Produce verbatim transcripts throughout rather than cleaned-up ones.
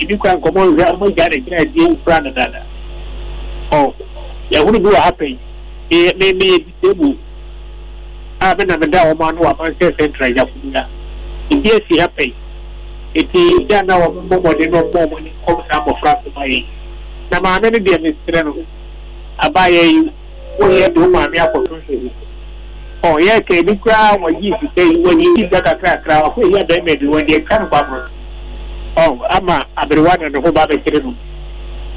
Ebi kura nkɔmɔ nhwɛ ɔmo gya ne gyina adie wofura no dada. Ɔ yɛhunu bi wɔ ha pɛn. Me me meyɛ disabled a me na meda wɔn ano wɔ Amansɛ Central Gyafo ha. Ebi asi ha pɛn. Eti gya na wɔn mmɔ mmɔden na wɔn wɔn ani nkɔm saa mmɔfra so ma yɛn. Na maame no deɛ, mesrɛ no, abaayɛ yi woyɛ de wo maame akɔto nhwɛ. Ɔ yɛ ka ebi koraa wɔgye sika yi, wɔgye sika kakrakra, wakɔ eyi abɛɛma bi wɔde atwa no kwaboro. Ɔ ama aberewa na ne ho ba bɛkyerɛ no.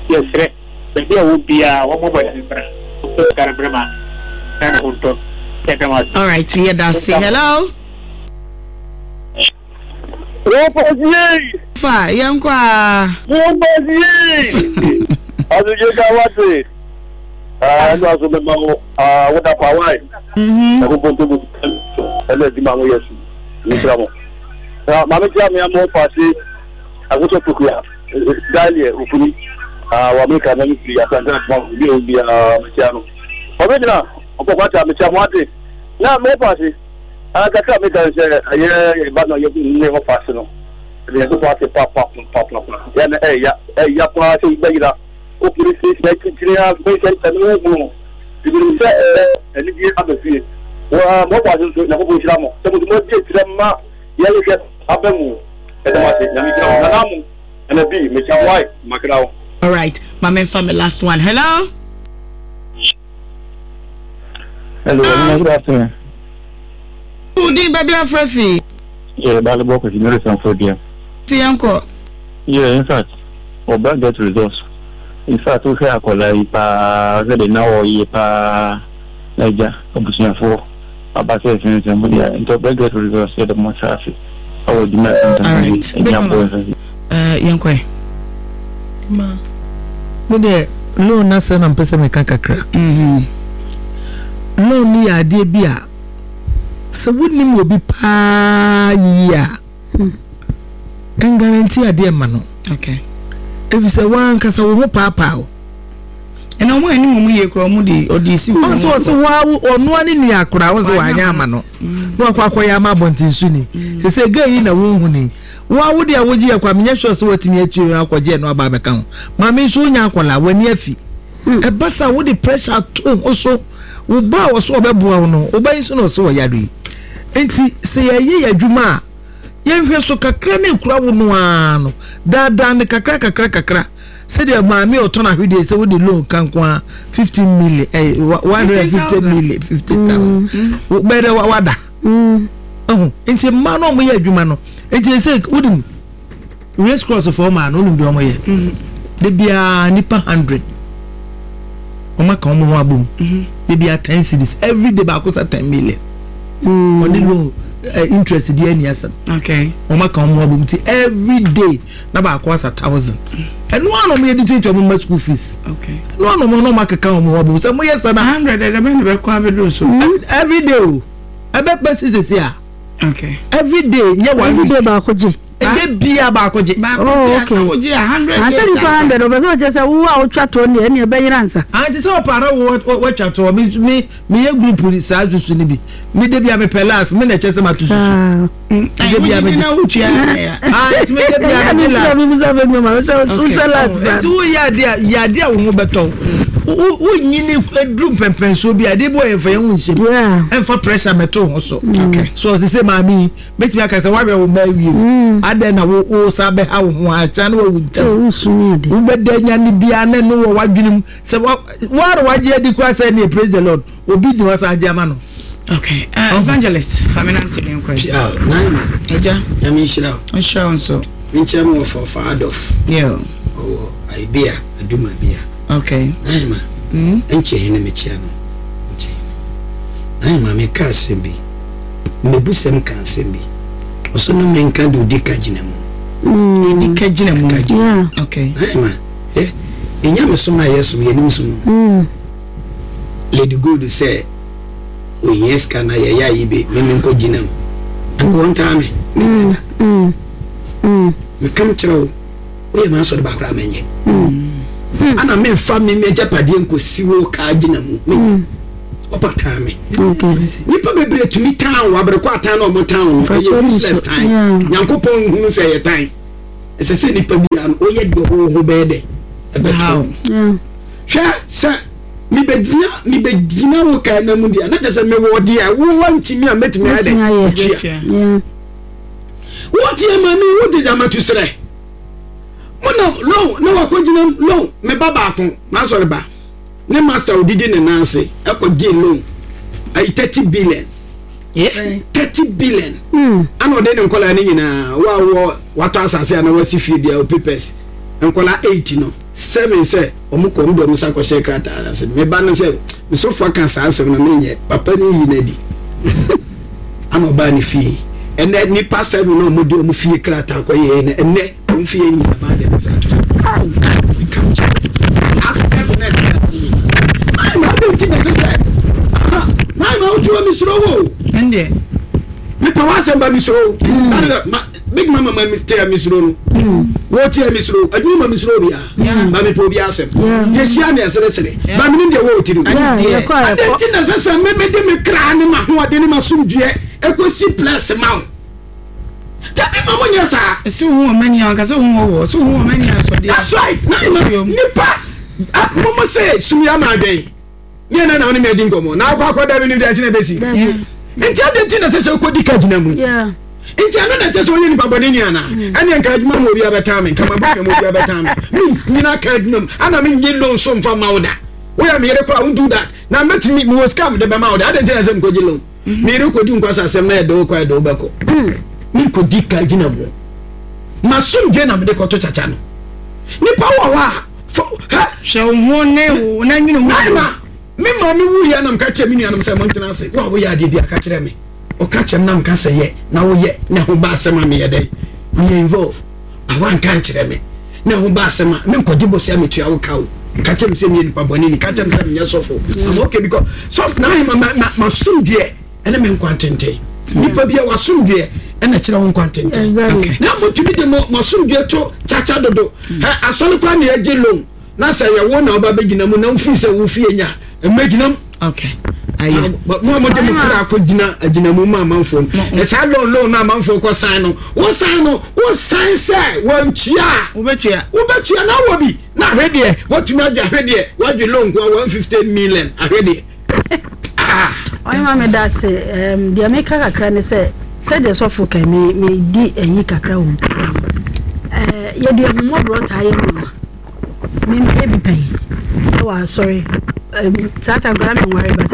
Yɛsrɛ baabi a wɔ biara, wɔn mmɔ mmɔden bra wɔn sika no brɛ maame na ne ho ntɔ. Yɛda wɔn ase. All right, yɛda ase. Hello. Wọ́pọ̀sí! Fa yɛnkɔ a. Wọ́pọ̀sí! Asogye ka wate. Ɛnu aso mɛma wo woda pa wae. Ɛko bonto bo ɛna adwuma ho yɛ su. Nhyira mo. Na maame tia me ama paase akoto pokua daaliɛ ofuni. Wɔ Amerika na me firi Asante atoma bi a obi a metia no. Ɔbɛgyina ɔpɔkɔ ata metia mo ate. Na mo paase kakra meka sɛ ɛyɛ ba na yɛ ne hɔ paase no. Ɛde yɛ so ase pa pa pa pa pa. Yɛ na ɛya ɛya paa sɛ bɛyira. O police station akyirikyiri a bɛyɛ sɛ ne ho hunu. Ebinom sɛ ɛɛ anigye aba fie. Wɔ mo paase nso, Nyankopɔn nhyira mo. Sɛ mo nso mo adi akyirɛ ma yɛhwehwɛ aba mu. Ɛdɛm ase, Nyame nhyira mo. Nana mo ɛna bi mekyia mo ae makra wo. All right, maame nfa me last one. Hello. Hello, uh, good afternoon. Udin baabi afrɛ fi. Yeah, Balibo Kwesi Mary Sanford. Ti yɛnkɔ. Yeah, in fact, ɔba get results. In fact, wohwɛ akwadaa yi paa sɛ de na ɔyɛ paa na agya abusuafoɔ aba sɛ ɛsensɛn mu deɛ, nti ɔbɛ get results. Yɛ de mo sa ase ɛwɔ adwuma All right. ɛnya bɔ ɛsɛ. Yɛnkɔ ɛ. Ma me deɛ, loan n'asɛm na mpɛ sɛ meka kakra. Loan no yɛ adeɛ bi a sɛ wonim obi paa yie a, ɛnguarantee adeɛ ma no. Okay. Ɛfiri sɛ woankasa wo ho paapaa o. Ɛna ɔmo anim ɔmo yie koraa, ɔmo de ɔde si wɔn. Ɔsɛ ɔsɛ waa ɔnoa ne nua koraa, ɔsɛ wanyɛ ama no na wakɔ akɔyɛ ama abɔnten so ni sɛ sɛ gay yi na wɔnhu ni waa wo deɛ wogye yɛ kɔ a, menyɛ sure sɛ watumi akyiri akɔgye ɛno aba abɛka ho. Maame nso wonya akɔla w'ani afi ɛba sa, wode pressure ato ho so. Wo ba a wɔso ɔbɛboa wo no, wo ba yi nso na ɔso ɔyare yi, nti sɛ yɛyɛ yɛ adwuma a, yɛnhwɛ so kakra ne ekura wo no ara no daadaa ne kakra kakra kakra, sɛdeɛ maame a ɔtɔn ahwedeɛ sɛ wode loan ka nko a fifteen million, ɛɛ one hundred and fifty million, fifty thousand bɛyɛ dɛ wada ɛho. Nti mmaa no a wɔyɛ adwuma no, nti sɛ wonim Race Cross fɔ maa no, wonim deɛ wɔyɛ de biara, nipa hundred wɔn aka wɔn ho abom de biara ten cedis every day, baako sa ten million ɔne loan uh, interest di ani asɛm. Okay. Wɔn aka wɔn ho abom ti every day na baako asa thousand. Ɛno ano wɔn yɛ de tuatua wɔn ma school fees. Okay. Ɛno ano wɔn na wɔn akeka wɔn ho abom sɛ mo yɛ sɛ na. Hundred ɛdɛ bɛ na bɛ kɔ abɛduru so. Every day o, ɛbɛ pɛ sisi a. Okay. Every day nye one Every week. day baako gye. Ɛdɛ bia baako gye. Baako Oh, gye okay. asa wogye a hundred Asɛ years nipa hundred ɔbɛ sɛ ɔkyɛ sɛ wo a wotwa toɔ ne ɛne ɛbɛyera nsa. Anti sɛ ɔpaara wo watwa toɔ, mi mi mi yɛ group saa susu ni bi, mi de bia mi pɛ last, mi na ɛkyɛ sɛ ma to susu. Saa. Mi de bia mi wogye de na wotua ya. Ah, nti mi de bia mi de last. Mi bisa bɛ nyɔma sɛ wosɛ last Nti wo yɛ adeɛ a yɛ adeɛ a wo ho bɛtɔ wo, wo nyini eduru mpɛmpɛnsoɔ bi a adeɛ bi wɔ yɛn fɛ yɛn ho nhyɛm. Yeah. Ɛnfa pressure mɛto ho so. Okay. So ɔsi sɛ maame yi bɛtumi aka sɛ wahwɛ wo mma awie o, adɛn na wo wo sa bɛha wo ho akyɛ na wawu Sɛ ntɛm? wosu ne ade. Wobɛda nya ne biara na ɛno wɔ w'adwene mu sɛ wa woara wagye adi koraa sɛ ne praise the Lord, obi di hɔ sa agye ama no. Okay. Uh, evangelist Famina Ntini nkɔ. Pia nine. Ɛgya. Nyame nhyira wo. Nhyira wo nso. Menkyerɛ me wɔ fɔfa Adolf. Yeah. Ɔwɔ Aibea Aduma bia. Okay. Nine ma. Mm. Nkyɛ hene mekyia no. Nkyɛ hene. Nine ma, meka asɛm bi. Mmebusɛm ka asɛm bi. Ɔso no menka de odi ka gyina mu. Edi ka gyina mu. Ka gyina mu. Yeah. Okay. Nine ma. Eh, ɛnya me som a yɛsom yɛnim so no. Mm. Lady Gold sɛ ohia sika na yɛyɛ ayi bi me menkɔ gyina mu. Anka wɔntaa me. Mm. Mm. Mm. Mekam kyerɛ wo, woyɛ m'asɔre baako a menyɛ ana memfa me m'agyapadeɛ nkɔsi wo kaa gyina mu, menyɛ ɔpa taa me. Okay. Nipa bebree tumi tan wo aberekɔ atan na ɔmo tan wo no, ɛyɛ useless tan. Yeah. Nyankopɔn nhunu sɛ ɛyɛ tan. Ɛsɛ sɛ nipa biara no woyɛ deɛ wo ho bɛyɛ dɛ ɛbɛtɔ. Hwɛ sɛ mebɛgyina mebɛgyina wo kaa na mu deɛ na kyerɛ sɛ mewɔ deɛ wowɔ ntumi a mɛtumi ayɛ dɛ atua. Wotie ma me wode gyama tu serɛ monam loan na wakɔgyina loan. Me ba baako maasɔre ba ne master odidi ne nan ase ɛkɔgye loan ayi thirty billion thirty billion ana ɔde ne nkɔlaa ne nyinaa wo a wɔ watɔ asase a na wasi fie bia o papers nkɔlaa eight no seven sɛ ɔmo kɔ ɔmo de ɔmo sa kɔhyɛ krataa ase. Me ba no sɛ mesɔfo aka saa asɛm no menyɛ papa ne yi n'adi ana ɔbaa ne fie ɛnɛ nipa seven na ɔmo de ɔmo fie krataa kɔ yɛ ɛnɛ ɛnɛ ɔmo fie nyinaa baa de ɛmo sa ato so asɛm na ɛsɛ maa ma adi nti na ɛsɛ sɛ maa ma wotu wɔ misoro wo ɛndeɛ mepɛ w'asɛm ba misoro wo big mama ma tia misoro no wo tia misoro adwuma ma misoro bia ma mepɛ obi asɛm yɛhyia ne ɛseresere ba menim deɛ wɔ tiri adi nti na ɛsɛ sɛ memede me kra ne m'ahoɔden ne m'asomdwoeɛ ɛkɔsi plus ma wo tabi ma mo nyɛ saa. Ɛsɛ ohun wɔn mani ankasa ohun wɔ wɔ ɛsɛ ohun wɔn mani asɔdeɛ. That's right. Na nipa mo mo sɛ sumia ma adwɛn ne yɛn na ɔne mi adi nkɔmɔ na akɔ akɔ dabi ni bi akyinɛ bɛsi nti adi nti na sɛ sɛ okɔ di ka gyina mu nti ɛno na ɛkyɛ sɛ ɔyɛ nipa bɔne ni ana ɛne nka adwuma mu obi abɛtaa me nka ma bɔfɛ mu obi abɛtaa me me nyina ka adwuma mu ana me nye loan so mfa ma wo da woyɛ me yere koraa won't do that na mɛtumi mewɔ sika mede bɛma wo da adi nti na sɛ mekɔgye loan me yere kɔdi nkwasa asɛm na yɛde wo kɔ yɛde wo bɛkɔ menkɔdi ka gyina mu masomdwe na mede kɔto kyakya no nipa wɔ hɔ a hwɛ wo ho ne wo na nwene ho me maame wuyɛ na mka kyerɛ me nuanom sɛ montena ase wo a woyɛ adeɛ bi aka kyerɛ me ɔka kyerɛ me na mka sɛ yɛ na woyɛ na ho ba asɛm a meyɛ dɛn meyɛ involve a woanka nkyerɛ me na ho ba asɛm a menkɔgye bɔsɛ a metua wo ka o ka kyerɛ me sɛ meyɛ nipa bɔne ni ka kyerɛ me sɛ menyɛ sɔfo I'm okay because sɔfo na ahema masomdweɛ ɛne me nkwa ntenten nipa bi a wasomdweɛ ɛna kyerɛ wo nkwa ntenten na motumi de masomdweɛ to kyakya dodo asɔre koraa ne yɛgye loan na sɛ yɛwo na woba bɛgyina mu na wofii sɛ wofie nya mmɛgyina mu. Okay. Aye. Mo mo de mo kra ko gyina agyina mu ma amanfo no. Saa loan loan na amanfo kɔ sign no. Wo sign no, wo sign sɛ wantua. Wobɛtua. Wobɛtua na wo bi. Na ahwedeɛ, watumi agye ahwedeɛ, wadwe loan ko one fifty million ahwedeɛ. Ah. Oyi ma me da se em de me ka kakra ne sɛ sɛ de sɔfo kan me me di ayi kakra wo. Eh ye de humobro ta ye no. Me me bi pen. Oh sorry. Um, that time I'm worried, but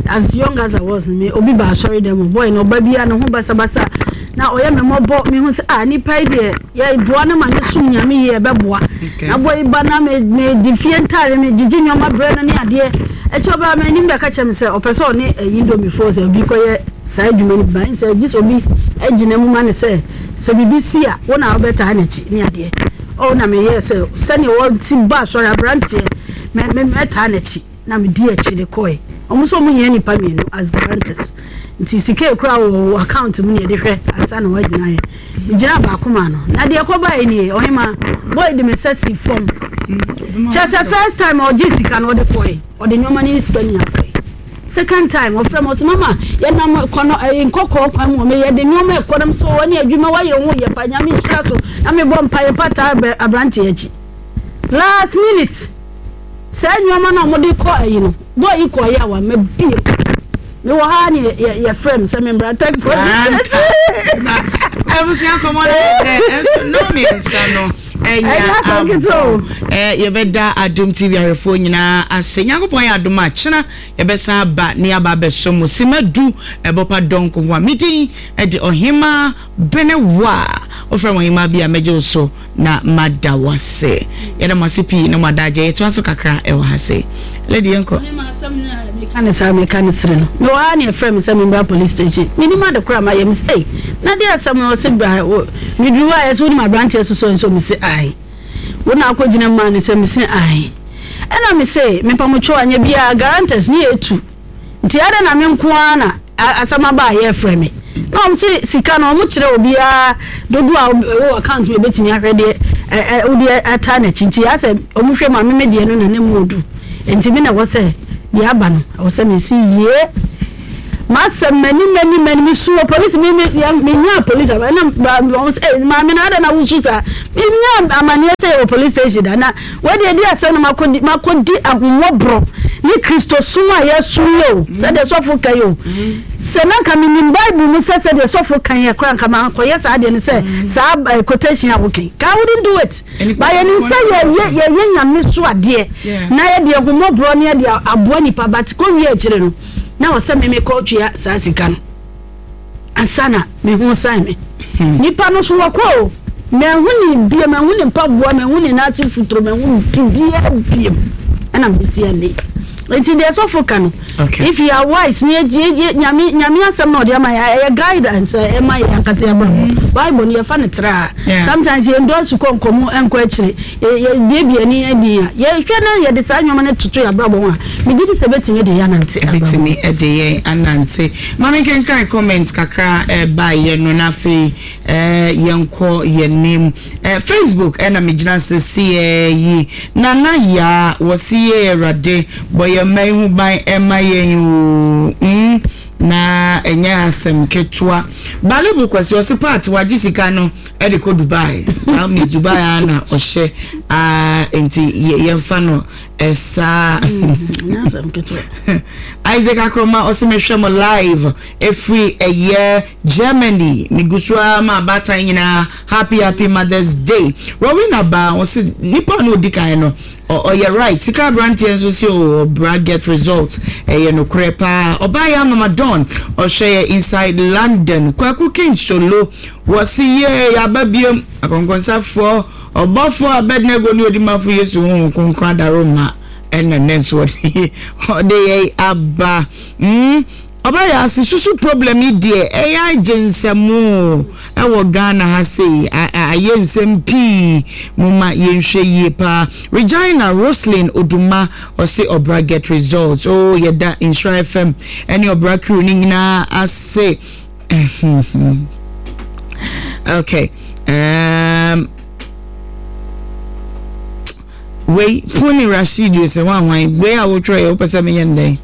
as young as I was, me obi ba sorry them boy no baby no ho basa basa. Na oye me mobo me hu say ah ni pai de ye boa na ma ne sum nyame ye be boa. Na boy ba na me me di fie ntare me gigi nyoma bre no ne ade. E che oba me nim be ka che me say opese oni indomie fo say obi koye sai adwuma ni ban say gis obi agina mu ma ne say se bibi si a wo na obeta na chi ne ade. Oh na me yes say ne wo ti ba sorry abrantie me me meta na chi na me di achi de koi omo so mo hia nipa mienu as guarantors nti sika ekura wo account mu ne de hwe ansa na wagina ye me gina ba akoma no na de ekoba ye nie ohima boy de me sesi form chese first time oji sika no de koi ode nyoma ne sika nya koi second time ofre mo so mama ye nam kono nkokko kwan mu me ye de nyoma ekodam so woni adwuma wa yere ho ye pa nya me hira so na me bɔ mpa ye pata abrante achi last minute sɛ nyoma na mo de kɔ ayi no boy yi kɔ ya wa me bi me wɔ ha ne ye frame sɛ me brata abusia kɔmɔ ne so no me nsa no enya eh yɛbɛda Adom T V ahwɛfoɔ nyinaa ase Nyankopɔn yɛ adom a kyena yɛbɛsan aba ne aba abɛso mo sima du ɛbɔpa dɔnko ho a medin ɛde ɔhema Benewa ofrɛ mo ɔhema bi a mɛgye wo so na mada wase yɛda mo ase pii na mo adagye yɛtoa so kakra ɛwɔ ha se lady yɛnkɔ meka ne saa meka ne sere no me wɔ ha ne ɛfrɛ me sɛ membra police station menim ade kora ma yɛ me sɛ na de asɛm no ɔse bra meduru a yɛ sɛ wonim aberanteɛ soso nso me se ae wo na akɔgyina ma ne sɛ me se ae ɛna me se mepamotwo anyɛ biaa guarantors ne yɛtu nti ade na me nko ara na asɛm aba a yɛfrɛ me na ɔm kye sika no ɔmo kyerɛ obiara dodo a ɛwɔ account mu ebetumi ahwɛ deɛ ɛ ɛ wode ata n'akyi nti asɛ ɔmo hwɛ ma meme deɛ no na ne mu odu nti me na ɛwɔ sɛ deɛ aba no ɛwɔ sɛ mesi yie Masɛm mani mani mani mesu wɔ polisi me me menya polisi ɛna maame na ada na wosu saa menya amanneɛ sɛ yɛwɔ police station da na wɔde adi asɛm no makɔdi makɔdi ahummɔborɔ ne Kristosom a yɛsom yɛ o, sɛdeɛ sɔfo ka yɛ o. Sɛ na nka menim Bible mu sɛ sɛdeɛ sɔfo kan yɛ koraa, nka mankɔyɛ saa deɛ no sɛ saa quotation a wokan ka, I wouldn't do it, but yɛnim sɛ yɛyɛ yɛyɛ Nyame so adeɛ na yɛde ahummɔborɔ ne yɛde aboa nipa, but kɔwie akyire no na wɔ sɛ meme kɔtua saa sika no ansa na meho san me nipa no so. Wɔkɔ o, mahu ne biem, mahu ne mpaboa, mahu ne n'ase futuro, mahu biribiara biem, ɛna mesi ɛnɛ. Nti deɛ sɔfo ka no, if you are wise ne yɛ Nyame Nyame asɛm na ɔde ama yɛ, ɛyɛ guidance ɛma yɛ ankasa yɛ brabɔ. Bible no yɛfa no tra, sometimes yɛn dɔɔso kɔ nkɔmɔ nkɔ akyire, yɛ biebie ani ani a yɛhwɛ na yɛde saa nneɛma no toto yɛ abrabɔ ho a, megye di sɛ bɛtumi de yɛ anante. Bɛtumi de yɛn anante. Maame, nkenkan comment kakra ɛba yɛ no, na afei yɛnkɔ yɛn nim. Facebook ɛna megyina sɛsiɛ yi. Nana Yaa wɔsi yɛ, Awurade bɔ yɛn mma yi ho ban ɛma yɛn o mm na ɛnyɛ asɛm ketewa. Balebu Kwasi ɔsi part wagye sika no ɛde kɔ Dubai. That means Dubai a na ɔhyɛ aa, nti yɛmfa no ɛsaa. Isaac Akroma ɔsi mehwɛ mo live efiri ɛyɛ Germany, megu so ara ma abaatan nyinaa happy happy Mother's Day. Rowena Ba ɔsi nipa no odi kan no ɔyɛ right. Sika aberanteɛ nso si o, ɔbra get results, ɛyɛ nokorɛ paa. Ɔbaa yɛ Amama Don ɔhwɛ yɛ inside London. Kwaku King Solo wɔsi yɛ yaba biem akɔnkɔnsafoɔ ɔbɔfoɔ Abednego ne odimafo Yesu Honhom Kronkron adaroma ɛna ne nso ɔde ɔde yɛ aba mm ɔbaa yɛ ase susu problem yi deɛ, ɛyɛ agye nsɛm ɛwɔ Ghana ha sei, ayɛ nsɛm pii mo ma yɛnhwɛ yie paa. Regina Roslyn Oduma ɔse ɔbra get results oh. Yɛda Nhyira F M ɛne ɔbra crew ne nyinaa ase. Okay, um, wei Puni Rashid sɛ hwan wei a wotwerɛ yɛ, wopɛ sɛ menyɛ no dɛn?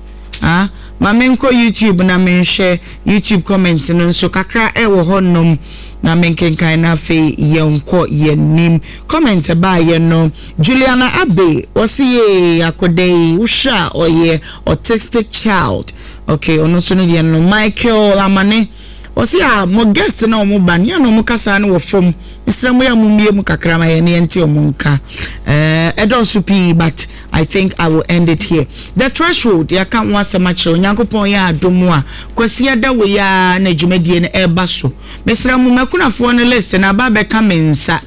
Ah, ma menkɔ YouTube na menhwɛ YouTube comment no nso kakra ɛwɔ hɔnom na menkenkan, na afei yɛnkɔ yɛnim comment baayɛ no. Juliana Abe wɔsi yee akɔda yi wohwɛ a ɔyɛ autistic child. Okay, ɔno nso no deɛ no. Michael Amane wɔsi a mo guest na ɔmo ba nea na ɔmo kasa no wɔ fam, mesrɛ mo yɛ mo mmie mu kakra ma yɛn ne yɛnte ɔmo nka. ɛɛ ɛdɔɔso pii, but I think I will end it here. The Threshold, yɛaka ho asɛm akyerɛ. Onyankopɔn yɛ adom a, Kwasi ada wɔ yi a na dwumadie no ɛreba so. Mesrɛ mo, makunafoɔ no list na aba abɛka me nsa,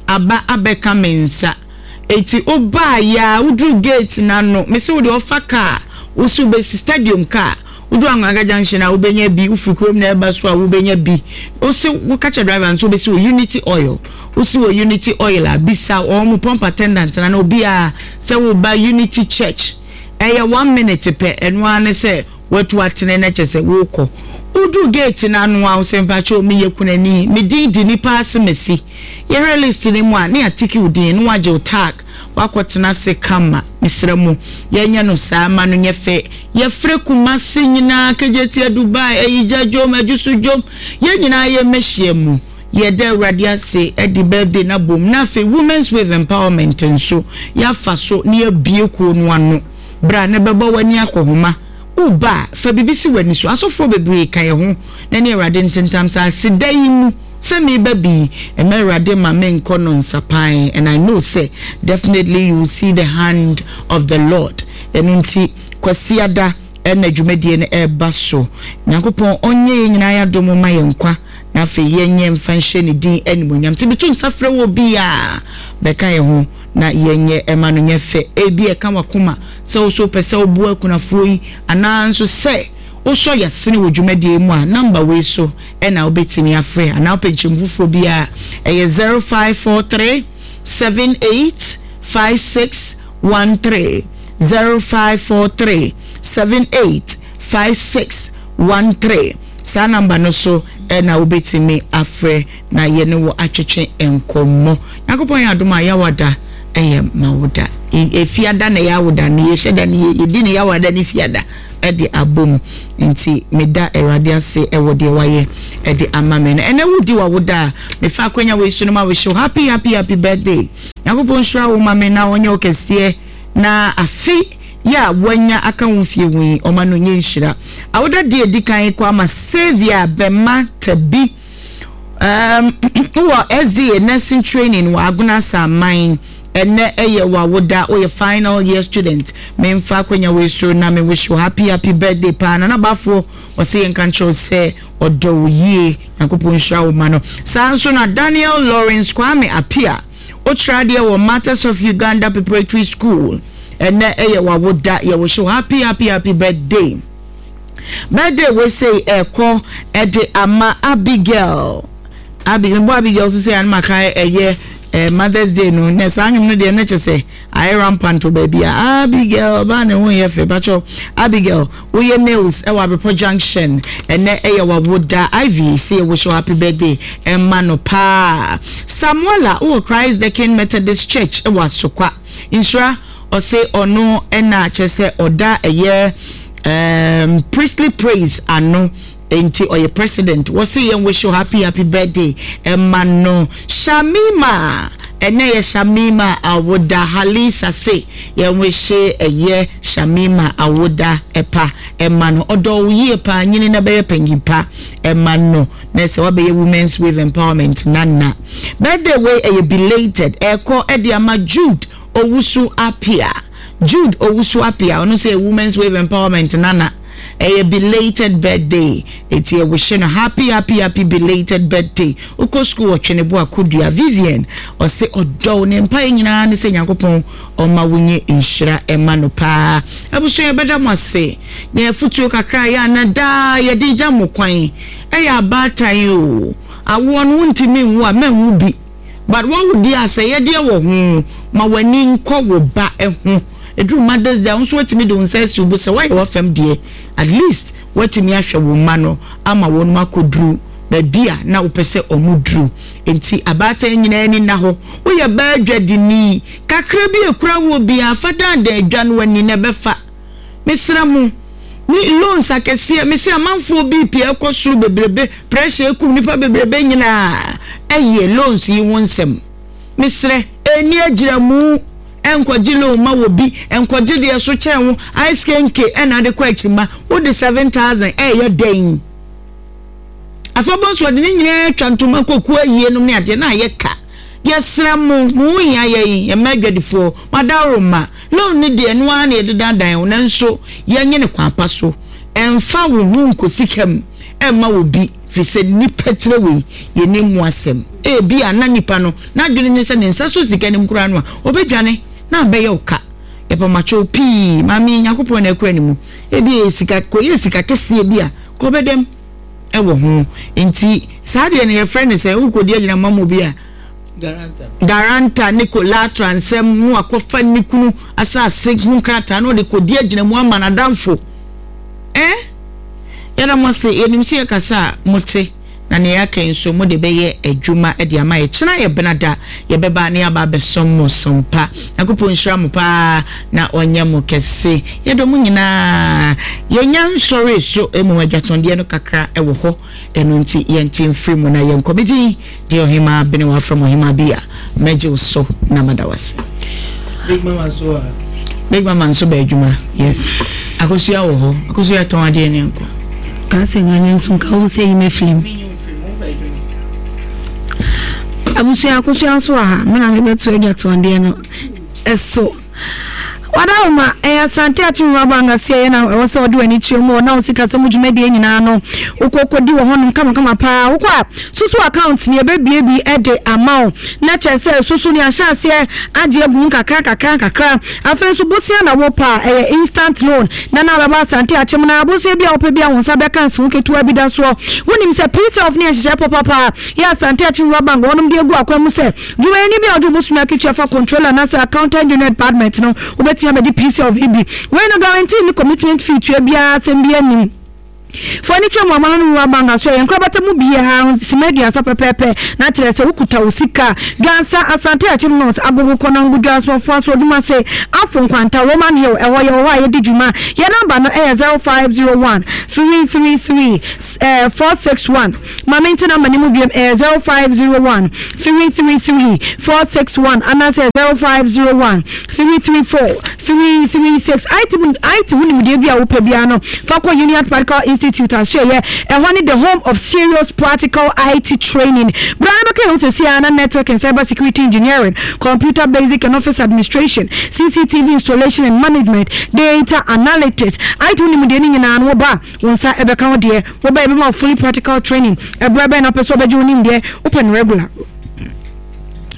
aba abɛka me nsa. Eti wobaa ya, woduru gate n'ano, mesi wo deɛ ɔfa kaa wosi wobɛsi stadium kaa, woduru Anwanga Junction a wobɛnya bi, wofiri kurom na ɛba so a wobɛnya bi. Wosi woka kyerɛ driver nso wobɛsi wɔ Unity Oil. Wosi wɔ Unity Oil a, bisa wɔn mo pump attendant na na obiara sɛ woba Unity Church. Ɛyɛ one minute pɛ, ɛno ara ne sɛ watu atene na kyɛ sɛ wokɔ. Woduru gate n'ano a, wosɛ mpakyɛw, meyɛ kunani, me din di nipa ase mesi. Yɛhwɛ list no mu a, ne yɛatiki wo din na wagye wo tag, wakɔtena ase kama. Mesrɛ mo, yɛnyɛ no saa ma no nyɛ fɛ. Yɛfrɛ Kumase nyinaa, Kejetia, Dubai, Ayigya dwom, Adwoso dwom, yɛn nyinaa yɛmmɛhyia mu. Yɛda Awurade ase de birthday no abom, na afei Women's Wave Empowerment nso yɛafa so na yɛabie kuo no ano. Berɛ a na bɛbɔ w'ani akɔhoma woba a, fa biribi si w'ani so. Asɔfoɔ bebree ka yɛn ho na ne Awurade ntentam saa aseda yi mu sɛ meba bi ɛma Awurade ma menkɔ no nsapan, and I know sɛ definitely you will see the hand of the Lord. Ɛno nti Kwasiada ɛna dwumadie no ɛreba so. Nyankopɔn ɔnyɛ yɛn nyinaa yɛadom ma yɛn nkwa na afei yɛnyɛ mfa nhyɛ ne din animonyam. Nti meto nsa frɛ wɔ bi a bɛka yɛn ho na yɛnyɛ ɛma no nyɛ fɛ. Ebi ɛka wakoma sɛ wo so wopɛ sɛ woboa akunafoɔ yi anaa nso sɛ wosɔ yɛasene wɔ dwumadie mu a, number wei so ɛna wobɛtumi afrɛ anaa wopɛ nkyɛmu foforɔ bi a, ɛyɛ zero five four three seven eight five six one three, zero five four three seven eight five six one three. Saa number no so ɛna wobɛtumi afrɛ na yɛne wɔ atwetwe nkɔmmɔ. Nyankopɔn yɛ adom a, yɛawada ɛyɛ ma wo da, efiada na yɛawoda no, yɛhyɛ da no, yɛdi ne yɛawada ne fiada. de abom. Nti meda Awurade ase ɛwɔ deɛ wayɛ ɛde ama me no. Ɛnɛ wodi w'awoda a, mefa akwanya wei so no ma wish you happy happy happy birthday. Nyankopɔn nhyira wo ma me na ɔnyɛ wo kɛseɛ, na afe yɛ a wanya aka wo mfie ho yi, ɔma no nyɛ nhyira. Awoda di edi kan kɔ ama Saviour Bɛma Tabi. Um, wɔ S D A nursing training wɔ Agona Asaman. Ɛnɛ ɛyɛ w'awoda, woyɛ final year student. Memfa akwanya wei so na me wish you happy happy birthday paa. Nana Bafoɔ ɔsɛ yɛnka nkyerɛw sɛ ɔdɔ wo yie. Nyankopɔn nhyira wo ma no. Saa nso na Daniel Lawrence Kwame Apia, wokyerɛ adeɛ wɔ Matters of Uganda Preparatory School. Ɛnɛ ɛyɛ w'awoda, yɛwɔ you happy happy happy birthday. Birthday wei sei ɛkɔ ɛde ama Abigail. Abi mbɔ Abigail so sɛ anamaka ɛyɛ ɛɛ Mother's Day no na saa anwom no deɛ ne kyɛ sɛ ayɛ rampant wɔ baabi a Abigail ɔbaa ne ho yɛ fɛ. Bakyɛw, Abigail, woyɛ nails ɛwɔ Abepɔ Junction. Ɛnɛ ɛyɛ wawoda. Ivy sɛ yɛ wish you happy birthday ɛma no paa. Samuela, wowɔ Christ the King Methodist Church ɛwɔ Asokwa Nhyira, ɔse ɔno ɛna kyerɛ sɛ ɔda ɛyɛ um, Priestly Praise ano, nti ɔyɛ president. Wɔsi yɛn wish you happy happy birthday ɛma no. Shamima, ɛnɛ yɛ Shamima awoda. Halisa se yɛn wish ɛyɛ Shamima awoda ɛpa ɛma no. Ɔdɔ wo yie paa, nyini na bɛyɛ panyin pa ɛma no na sɛ wabɛyɛ Women's Wave Empowerment nana. Birthday wei ɛyɛ belated, ɛkɔ ɛde ama Jude Owusu Apia. Jude Owusu Apia, ɔno nso yɛ Women's Wave Empowerment nana. Ɛyɛ belated birthday, eti ɛwɔhyɛ no happy happy happy belated birthday. Wokɔ school wɔ Twenebo Akodua. Vivian ɔsɛ ɔdɔw ne mpa yɛ nyinaa ne sɛ Nyankopɔn ɔma wo nye nhyira ɛma no paa. Abusua, yɛbɛda mo ase na afutuo kakra yɛ ana daa yɛde gya mo kwan. Ɛyɛ abaatan o, awoɔ no wontumi nwo a, mɛnwo bi, but wɔwo deɛ a, sɛ yɛdeɛ wɔ ho ma w'ani nkɔ wo ba ho. Ɛduru Mother's Day a, wo nso watumi de wo nsa asi wo bo sɛ woayɛ w'afam deɛ, at least woatumi ahwɛ wo mma no ama wɔn akɔduru baabi a na wopɛ sɛ ɔmo duru. Nti abaatan nyinaa ani na hɔ. Woyɛ baa dwadini kakra bi ekura wɔ biara, fa daadaa adwa no ani na ɛbɛfa. Mesrɛ mo, ne loans akɛseɛ, mesɛ amanfoɔ B P ɛkɔ soro bebrebe, pressure ekum nipa bebrebe nyinaa, ɛyɛ loans yi ho nsɛm. Mesrɛ, ɛni agyina mu, ɛnkɔgye loan ma wɔ bi, ɛnkɔgye deɛ so kyɛn wo ice kenke ɛna ade kɔ akyi ma wode seven thousand ɛyɛ dɛn. Afɔbɔ nso ɔde ne nyinaa atwa ntoma kɔkuo ayie nom ne adeɛ na ayɛ ka. Yɛsrɛ mo, mo ho hia yɛn. Yɛmma adwadifoɔ madaworo ma loan ne deɛ no ara na yɛde dandan wo, nanso yɛnyɛ ne kwan pa so. Ɛmfa wo ho nkɔ sika mu ɛmma wo bi, firi sɛ nipa tire wei yɛnim mu asɛm. Ebi a na nipa no n'adwene ne sɛ ne nsa so sika nim koraa no a, ɔbɛdwane na abɛyɛ wo ka. Yɛpamakyɛw pii, maame, Nyankopɔn na ɛkura ne mu. Ebi yɛ sika kɔyɛ sika kɛseɛ bi a kɔbɛdɛm ɛwɔ ho. Nti saa deɛ no yɛfrɛ no sɛ wokɔdi agyina ma mu bi a, guarantor ne collateral nsɛm no, akɔfa ne kunu asase ho nkrataa na ɔde kɔdi agyina mu ama n'adamfo. Ɛ yɛda mo ase. Yɛnim sɛ yɛkasa a mote, na nea yɛaka yi nso mode bɛyɛ adwuma de ama yɛ. Kyena yɛ benada, yɛbɛba ne yɛaba abɛsɔm mo sɔmpa. Nyankopɔn nhyira mo paa na ɔnyɛ mo kɛse. Yɛdɔ mo nyinaa. Yɛnya nsɔre so mmom adwatɔndeɛ no kakra ɛwɔ hɔ, ɛno nti yɛnte mfiri mu na yɛnkɔ. Me din deɛ Ɔhema Bene, wafrɛ mo Ɔhema bi a mɛgye wo so na mada wase. Big Mama so a. Big Mama nso bɛ adwuma. Yes, Akosua wɔ hɔ. Akosua tɔn adeɛ ne nkɔ. Ka sɛ nyanya nso nka wo sɛ yi mɛfiri mu. Abusua, Akosua nso wɔ ha. Mena mebɛto adwatɔndeɛ no ɛso. Wadawoma ɛyɛ Asante Akyem Rural Bank ase ɛyɛ na ɛwɔ sɛ ɔde w'ani kyerɛ mu wɔ na wo sikasɛm dwumadie nyinaa no wokɔkɔdi wɔ hɔnom kamakama paa. Wokɔ a, susu account ne ɛbɛbie bi ɛde ama wo na kyerɛ sɛ susu ne ahyɛ aseɛ agye agu mu kakra kakra kakra. Afei nso bosia na wopɛ a, ɛyɛ instant loan na na bɛba Asante Akyem na abosia bi a wopɛ bi a wo nsa bɛka nsi ho ketewa bi da soɔ. Wonim sɛ P self ne nhyehyɛ pɔpapa yɛ Asante Akyem Rural Bank wɔnom de agu akwan mu sɛ dwumayɛni bi a ɔde wobosome akatua fa controller anaasɛ accountant junior department no, wobɛtumi abɛgye P self bi. Wei no guarantee ne commitment fee tua biara asɛm bi anim. Fo ani twam wɔ amano no wura bank aso yɛ nkorabata mu biara sima aduasa pɛpɛɛpɛ na kyerɛ sɛ wokuta wo sika. Dwansa, Asante Akyem North, Agogo, Konongo, Dwaso, Ofoaso, Odumase, Afo, Nkwanta, Roman Hill, ɛhɔ yɛwɔ hɔ a yɛdi dwuma. Yɛn namba no ɛyɛ zero five zero one three three three four six one. Ma mente namba no mu biom, ɛyɛ zero five zero one three three three four six one anaasɛ zero five zero one three three four three three six. I T mu I T ho nimdeɛ bi a wopɛ biara no, fa kɔ Union Practical Institute asoɛyɛ. Ɛhɔ ne the home of serious practical I T training. Bra na bɛka yɛn ho sɛsi ara na network and cyber security engineering, computer basic and office administration, C C T V installation and management, data analytics, I T ho nimdeɛ no nyinaa no, woba wo nsa ɛbɛka ho deɛ. Woba, yɛbɛma wo fully practical training. Ɛberɛ bɛn na wopɛ sɛ wobɛgye wo nimdeɛ? Wopɛ no regular,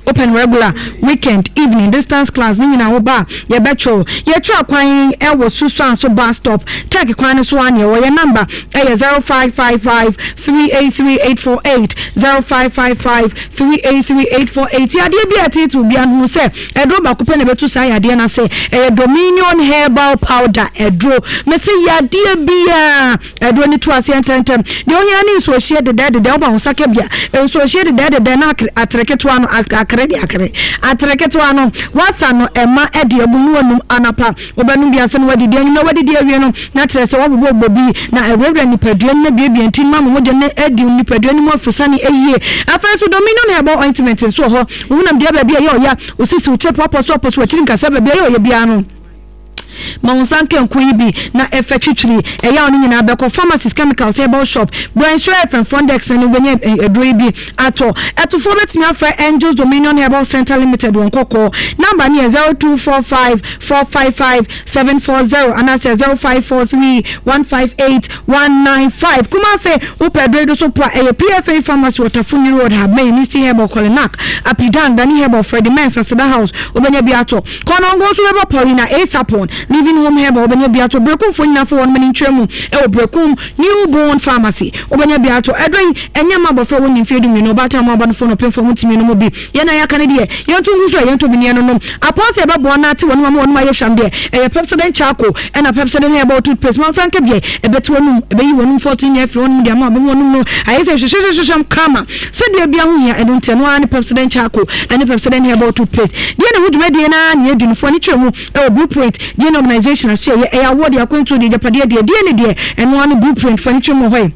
open regular, weekend, evening, distance class ne nyinaa, wo ba a yɛbɛtwerɛ. Yɛtwerɛ kwan ɛwɔ Susuanso bus stop, Tech kwan no so a neɛ wɔ. Yɛ number ɛyɛ zero five five five three eight three eight four eight, zero five five five three eight three eight four eight. Yadeɛ bi a ɛteete obiara no ho sɛ ɛduro baako pɛ na ɛbɛtu saa yadeɛ no ase, ɛyɛ Dominion Herbal Powder. Ɛduro mɛsɛ yadeɛ biara, ɛduro ne to aseɛ ntɛntɛm. Deɛ ohia ne nsuohyie dedɛɛdedɛ. Woba wo nsa ka bia nsuohyie dedɛɛdedɛ na atere ketewa no, akere de akere atere ketewa no wasa no, ɛma ɛde agu no wanum. Anapa wobɛnom bi ase no, wadidi anwummerɛ, wadidi awie no na kyerɛ sɛ wabobɔ bɔ bi na ɛwurawura nipadua no na biebie nti ma mogya no adi nipadua no mu afusane ayie. Afei nso Dominion Herbal Ointment nso wɔ hɔ. Wonam deɛ baabi a ɛyɛ ɔya, osisi wo kyɛ pɔpɔ so ɔpɔ so akyiri nkasa, baabi a ɛyɛ ɔyɛ biara no, ma wo nsa nka nko yi bi na ɛfɛ twitwiri ɛyɛ a ɔno nyinaa bɛkɔ. Pharmacies, chemicals, herbal shop, Branch F M front desk ne wobɛnya aduro yi bi atɔ. Ɛtofoɔ bɛtumi afrɛ Angels Dominion Herbal Center Limited wɔn kɔkɔɔ number no yɛ zero two four five four five five seven four zero anaasɛ zero five four three one five eight one nine five. Kumase, wopɛ aduro yi so po a, ɛyɛ P F A Pharmacy, Wɔtafo New Road, Habmɛn, Misty Herbal, Kolinak, Apidan, Dani Herbal, Freddie Mens, Aseda House, wobɛnya bi atɔ. Kɔnɔngo nso bɛbɔ Paulina Asapon, Living Home Herbal, wobɛnya bi atɔ. Brekumfoɔ nyinaa fo wɔn mani ntwerɛ mu ɛwɔ Brekum New Born Pharmacy, wobɛnya bi atɔ. Ɛdɔ yi ɛnyɛ ma abɔfra wɔ ne mfeɛ du mmienu, ɔbaatan mu aba no fo no ɔpemfoɔ mu ntumi no mu bi. Yɛn a yɛaka no deɛ, yɛnto ngu so a yɛntɔ bi ne yɛn nom apɔn sɛ ɛbɛboa no ate wɔn ama wɔn ayɛ hwam deɛ, ɛyɛ Pepsodent Charcoal ɛna Pepsodent Herbal Toothpaste. Ma nsa nka biɛ, ɛbɛte wɔn ɛbɛyi wɔn mfɔto nyɛ afiri wɔn de ama ɔbɛn wɔn no ayɛ sɛ hwehwehwehwɛm kama sɛdeɛ bia ho hia. Ɛno nti ɛno ara ne Pepsodent Charcoal ɛne Pepsodent Herbal Toothpaste deɛ na ho dwumadie naa ne yɛdi no foɔ ne kyerɛ mu ɛwɔ Blueprint D N A Organization aso. Ɛyɛ ɛyɛ awɔ deɛ akwantuo deɛ, agyapadeɛ deɛ deɛ ne deɛ, ɛno ara ne Blueprint foɔ ne kyerɛ mu wɔ hɔ yi.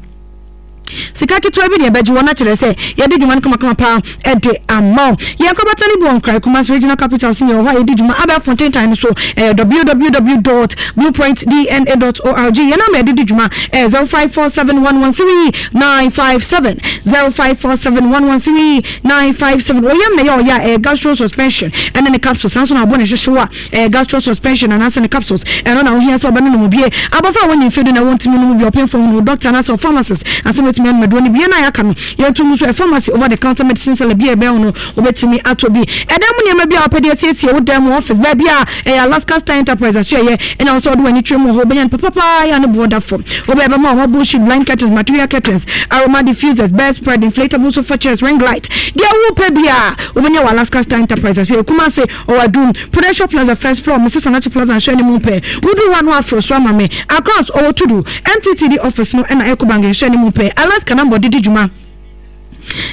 Sika ketewa bi deɛ ɛbɛgye wɔn akyerɛ sɛ yɛde dwuma no kamakama paa ɛde ama wo. Yɛn nkorabata no bi wɔ Nkran, Kumasi Regional Capital so, yɛwɔ hɔ a yɛdi dwuma abɛɛfo ntentan no so, ɛyɛ W W W dot blueprintdna dot org. Yɛn ama yɛde di dwuma ɛyɛ zero five four seven one one three nine five seven, zero five four seven one one three nine five seven. Oyam na ɛyɛ ɔyɛ a, ɛyɛ gastro suspension ɛne ne capsules. Saa nso na abɔ ne hyehyɛ a, ɛyɛ gastro suspension anaasɛ ne capsules. Ɛno na wohia sɛ ɔbɛno no mu bie. Abɔfra a wɔnyɛ mfeɛ du na wɔntumi no mu bi, ɔpemfo ho no doctor anaasɛ pharmacist asɛm bɛtumi anom aduro no bie no a yɛaka no. Yɛnto mu so ɛ pharmacy, over the counter medicine seller bi a ɛbɛn wo no, wobɛtumi atɔ bi. Ɛdan mu nneɛma bi a wopɛ de asiesie wo dan mu, office baabi a, ɛyɛ Alaska Star Enterprise aso ɛyɛ ɛna wo sɛ wode w'ani twere mu wɔ hɔ, wobɛnya no papapaa yɛ a ne boɔ da fam. Wobɛyɛ bɛma wo marble sheet, blind curtains, material curtains, aroma diffusers, bed spread, inflatable sofa chairs, ring light, deɛ wopɛ bi a wobɛnya wɔ Alaska Star Enterprise aso yɛ. Kumase, ɔwɔ Adum, Prudential Plaza first floor, Missus Anachi Plaza nhwɛ ne mu pɛ. Wodu hɔ a no aforo so ama me. Accra nso, ɔwɔ Tudu M T T D office no ɛna Ecobank nhwɛ ne mu pɛ. Alaska number didi dwuma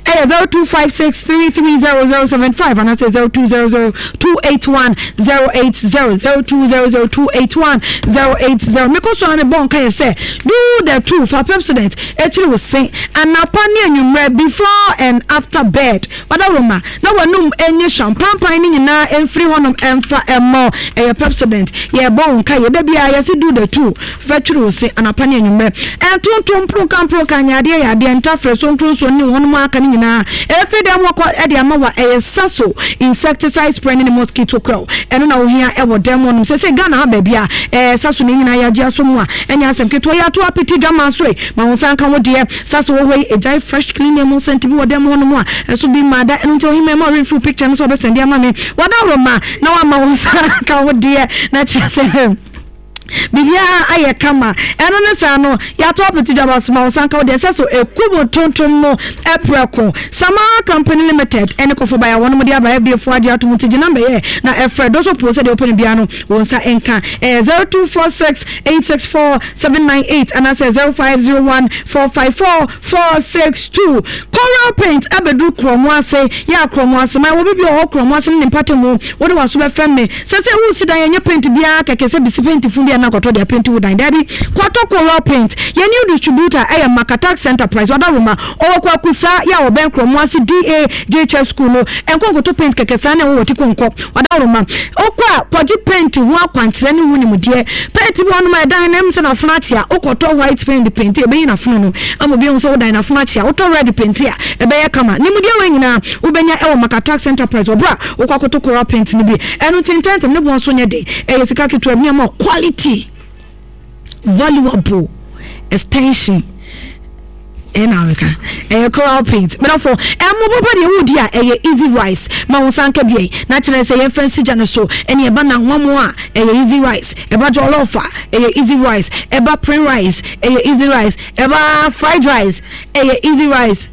ɛyɛ zero two five six three three zero zero seven five anaasɛ zero two zero zero two eight one zero eight zero, zero two zero zero two eight one zero eight zero. Mekɔ so na mebɔ nka yɛ sɛ do the two fa Pepsodent akyiri wo se anapa ne anwummerɛ, before and after bed. Ɔdawuroma na wɔnum enye hwam pampan ne nyinaa mfiri hɔnom ɛmfa ɛmɔ. Ɛyɛ Pepsodent. Yɛbɔ wo nka yɛ da biara yɛsi do the two fa twiri wo se anapa ne anwummerɛ. Ɛntontom mproka mproka nyɛ adeɛ yɛ adeɛ ntafrɛ so nkuronsuo ne wɔnom aka ne nyinaa ɛfiri dɛm wɔkɔ ɛde ama wa. Ɛyɛ Saso insecticide spray ne ne mosquito coil, ɛno na wohia ɛwɔ dɛm hɔnom sɛ sɛ Ghana ha baabi a ɛɛ Saso ne nyinaa yɛagye aso mu a, ɛnyɛ asɛm ketewa. Yɛato apete dwama so yi ma wo nsa nka wo deɛ. Saso wɔ hɔ yi, ɛgyae fresh clean mu scent bi wɔ dɛm hɔnom a ɛso bi mmaa da. Ɛno nti ohima ma ɔremfiri picture no sɛ wɔbɛsɛnde ama me. Wadaworo ma na wama wo nsa nka wo deɛ na kyerɛ sɛ Biribiara ayɛ kama. Ɛno ne saa no, yɛato apete dwaba so ma wo sanka wo deɛ ɛsɛ so ɛkum tontom no prɛko. Samara Company Limited ɛne Kɔfo Bae a wɔnom de aba F D A foɔ agye atom nti gye number yɛ na ɛfrɛ dɔ so poo sɛdeɛ wopɛ no biara no wo nsa nka. Ɛyɛ zero two four six eight six four seven nine eight anaasɛ zero five zero one four five four four six two. Coral Paint abɛduru Korɔmo ase. Yɛ a Korɔmo ase man wɔ baabi wɔ hɔ Korɔmo ase ne ne mpatamu. Wode w'aso bɛfɛm me. Sɛ sɛ woresi dan ɛnyɛ paint biara kɛkɛ sɛ besi paint fun bi a na kɔtɔ de apenti wo dan. Daabi, kɔtɔ Coral Paint. Yɛn new distributor ɛyɛ Makatax Enterprise, Ɔdawoma. Ɔwɔ Kwaku Saa yɛ a ɔbɛn Korɔmo ase D A J H S School no. Ɛnkɔ nkɔtɔ paint kɛkɛ saa na ɛwɔ wɔ Tiko nkɔ. Ɔdawoma. Wokɔ a kɔgye paint ho akwankyerɛ ne ho nimdeɛ. Paint bi wɔ hɔnom a ɛdan no ɛm sɛ n'afono akyea. Wokɔtɔ white paint de paint a ɛbɛyi n'afono no ama obi ahu sɛ wo dan no afono akyea. Wotɔ red paint a ɛbɛyɛ kama. Nimdeɛ wei nyinaa wobɛnya ɛwɔ Makatax Enterprise wɔ berɛ a wokɔ akɔtɔ coral paint no bi. Ɛno nti ntɛmntɛm, ne boɔ nso nyɛ den. Ɛyɛ sika ketewa bi na ɛma wo quality, valuable extension. Ɛna aweka ɛyɛ coral paint. Medafo, ɛmo papa deɛ wodi a ɛyɛ easy rice. Ma wo nsa nka bi na kyerɛ sɛ yɛmfa nsi gya no so. Ɛne ɛba nanwamo a ɛyɛ easy rice, ɛba jollof a ɛyɛ easy rice, ɛba plain rice ɛyɛ easy rice, ɛba fried rice ɛyɛ easy rice.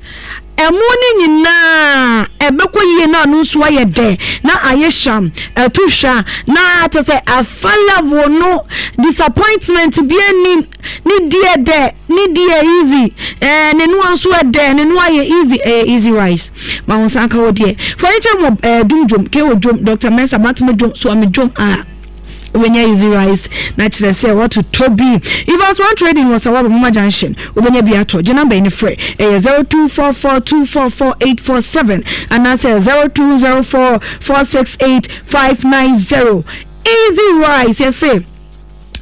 Ɛmo no nyinaa ɛbɛkɔ yie na ano nso ayɛ dɛ na ayɛ hwam ɛto hwa na kyɛ sɛ afa level no disappointment bi anim ne deɛ dɛ ne deɛ easy ɛɛ ne noa nso ɛdɛ ne noa yɛ easy ɛyɛ easy rice. Ma wɔn nsa nka wɔ deɛ furniture mu ɛɛ dum dwom ke wɔ dwom Doctor Mensa Bantama dwom Suame dwom a wobɛnya easy rice na kyerɛ sɛ wɔtotɔ bi. Evans One Trading wɔ Sawaba Mama Junction wobɛnya bi atɔ. Gye number yi ne frɛ ɛyɛ zero two four four two four four eight four seven anaasɛ zero two zero four four six eight five nine zero. Easy rice yɛse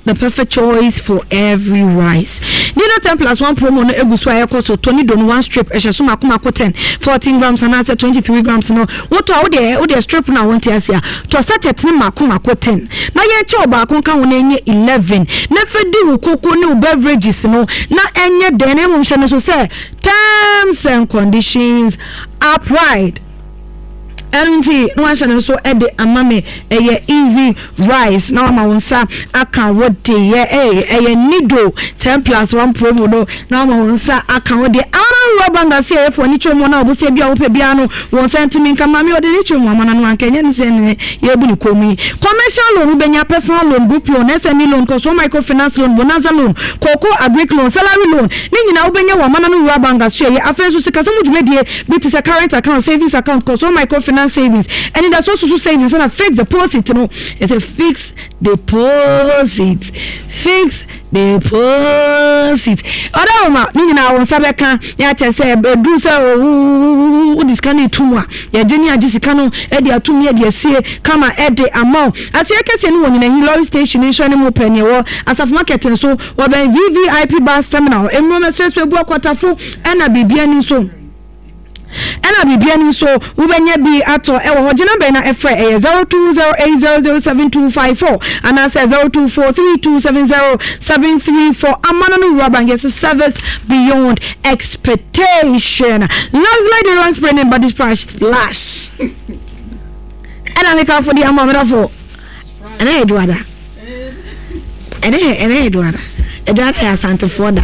the perfect choice for every rice. Dino ten plus one promo no egu so a ɛkɔ so. Tony Don one strip ɛhyɛ so mako mako ten, fourteen grams anaasɛ twenty-three grams no. Wotɔ a wode wode strip no a wonte ase a tɔ sachet ne mako mako ten. Na yɛnkyɛ ɔbaako nka ho na ɛnyɛ eleven. Na fa di wo koko ne wo beverages no na ɛnyɛ dɛn na mmom hyɛ no so sɛ terms and conditions applied. Ɛno nti na wahyɛ no nso de ama me ɛyɛ easy rice na wama wo nsa aka wo deɛ. Ɛyɛ ɛyɛ nido ten plus one promo no na wama wo nsa aka wo deɛ. Amana ruwa banga se ɛyɛ fo ani kyerɛ mu na ɔbosea bi a wopɛ biara no wɔn nsa ntumi nka. Maame ɔde ne kyerɛ mu amana no anka ɛnyɛ ne sɛ ne yɛbu ne kɔn mu yi. Commercial loan wobɛnya, personal loan, group loan, S M E loan, kɔsoɔ microfinance loan, bonanza loan, cocoa agric loan, salary loan ne nyinaa wobɛnya wɔ amana no ruwa banga so ɛyɛ. Afei nso sikasɛm mu dwumadie bi te sɛ current account, savings account, kɔsoɔ microfinance savings, anidasoɔ susu savings ɛna fixed deposit no. Ɛsɛ fixed deposit, fixed deposit. Ɔdɔ ma ne nyinaa wɔn nsa bɛka ne akyɛ sɛ ɛduru sɛ wode sika no etu mu a yɛgye ne agye sika no ɛde atum ne ɛde asie kama ɛde ama wo. Asoɛ kɛseɛ no wɔ Nyinahin lorry station nso ne mu pɛ neɛ wɔ Asafo market nso wɔbɛn V V I P bus terminal nnuro mɛsrɛsrɛ bu akwatafo ɛna biribi ani nso. Ɛna biribi ani nso wobɛnya bi atɔ ɛwɔ hɔ. Gyina bɛn na ɛfrɛ ɛyɛ zero two zero eight zero zero seven two five four anaasɛ zero two four three two seven zero seven three four. Amana no wura bank yɛsɛ service beyond expectation. Landslide deodorant spray ne body splash splash. Ɛna ne kafo de ama ɔmɛdɔfo. Ɛna yɛ duada. Ɛna yɛ ɛna yɛ duada. Ɛduada yɛ asantefoɔ da.